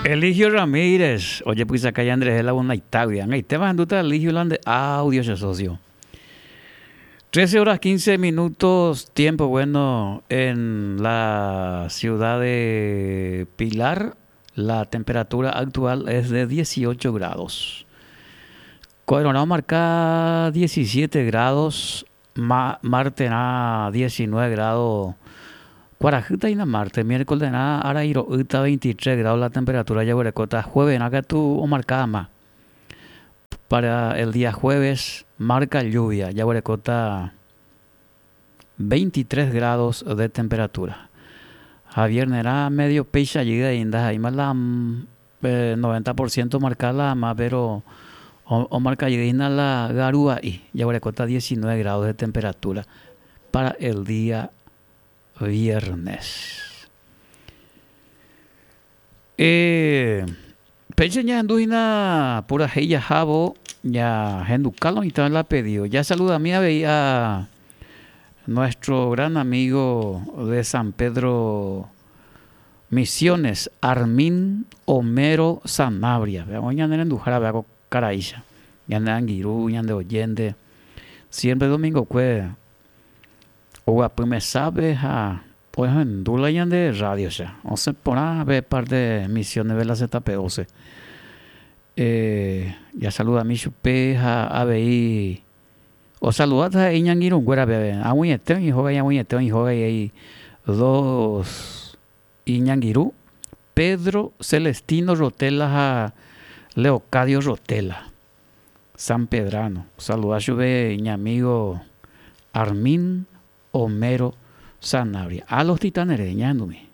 Eligio Ramírez, ojepysaka ñanderehe Lagunaitágui. Ag̃aitéma ahendúta Eligio la nde audio che socio. 13 horas 15 minutos, tiempo bueno en la ciudad de Pilar. La temperatura actual es de 18 grados. Ko'ẽrõrã omarka 17 grados, marterã 19 grado kuarahýta hína marte, miércolerã ára iro'ýta 23 grado la temperatura jaguerekóta, jueverã katu omarka ama. Para el día jueves marca lluvia, jaguerekóta 23 grados de temperatura. Ha viernerã medio péicha jey aĩ ndaha'éima la 90 por ciento omarka la ama péro omarka jey hína la garua'i, jaguerekóta 19 grados de temperatura para el día viernes. Péicha ñahendu hína purahéi jahávo ñahenduka lo mitã la pedido. Ya saludami avei a nuestro gran amigo de San Pedro Misiones, Armin Homero Sanabria. Veamos ñane renduhára vea ko karaícha. Ñane angirũ, ñande oyente. Siempre domingokue oguapy mesápe ha ohendu la ñande radio cha. Osẽ porã pe parte Misiones de la ZP12. Eh, jasaludami chupe ha avei osaludáta ha'e iñangirũnguérape ave. Ag̃uiete oĩ hóga, ag̃uiete oĩ hóga y dos iñangirũ, Pedro Celestino Rotela ha Leocadio Rotela. San Pedrano. Osaluda chupe iñamígo Armin Homero Sanabria. A los Titanes rehe ñahendumi.